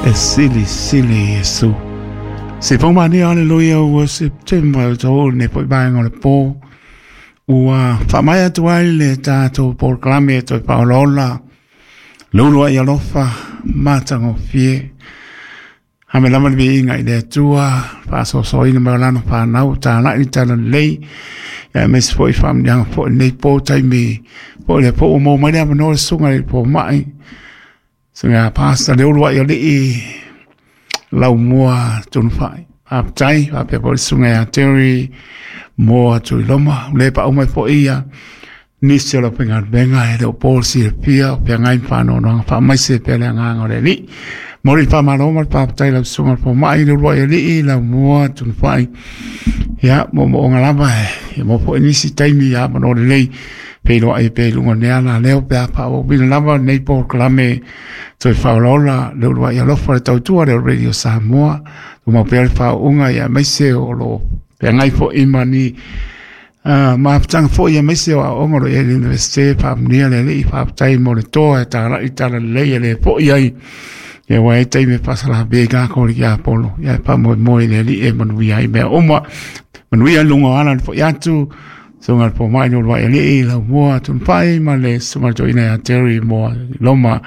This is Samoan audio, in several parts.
E silisili Iesu. Se pau mania, aleluia, ua September o tau nei po i vaega o le pō. Ua faamaea atu ai le tatou polokalame e toe faaolaola le uluai alofa matagofie. Ame lava le viiga i le Atua, faasoasoaina mai o lana fanau, talai le talalelei, ia aemaise foi faamanuiaga foi lenei po taimi po le po ua maua mai le avanoa le susuga i le fomai, susuga ia Pastor le uluai alii Laumua Tunufai. Faafetai, faapea foi le susuga ia Terry Moa Tuiloma, le paau mai foi ia nisi o le aufaigaluega e le o po le silafia o feagai ma faanoanoaga faamaise pea le agaga o le Alii. Momoli le faamalo ma le faafetai i lau susuga i le fomai, le uluai alii, Laumua Tunufai. Ia, moomooga lava e maua foi nisi taimi ia avanoa lelei feiloai pea i luga o lenei alaleo pe a faaauauina lava lenei polokalame toe faaolaola le uluai alofa le tautua lea o Radio Samoa. Tumau pea le faauuga ia aemaise o lo o feagai foi ma ni mafutaga foi aemaise o aoaoga o lo o i ai le Universite. Faamanuia le Alii, faafetai mo le toa e talai tala lelei e le foi ai. Ia ua e taimi e faasalafia i kākou le tiapolo. Ia e faamoemoe i le Alii e manuia ai mea uma. Manuia i luga o ala le foi atu. Susuga i le Fomai le Uluai Alii, Laumua Tunufai ma le Susuga i le Toeaina ia Terry Moa Loma.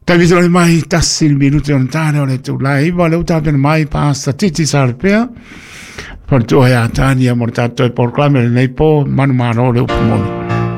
Taimi tole mai tasi le minute o le tane o le itula e 9 lea ua tapena mai Pastor Titi Salapea. Faletua ia Tania mo le tatou polokalame o lenei po, manumalo le upu moni.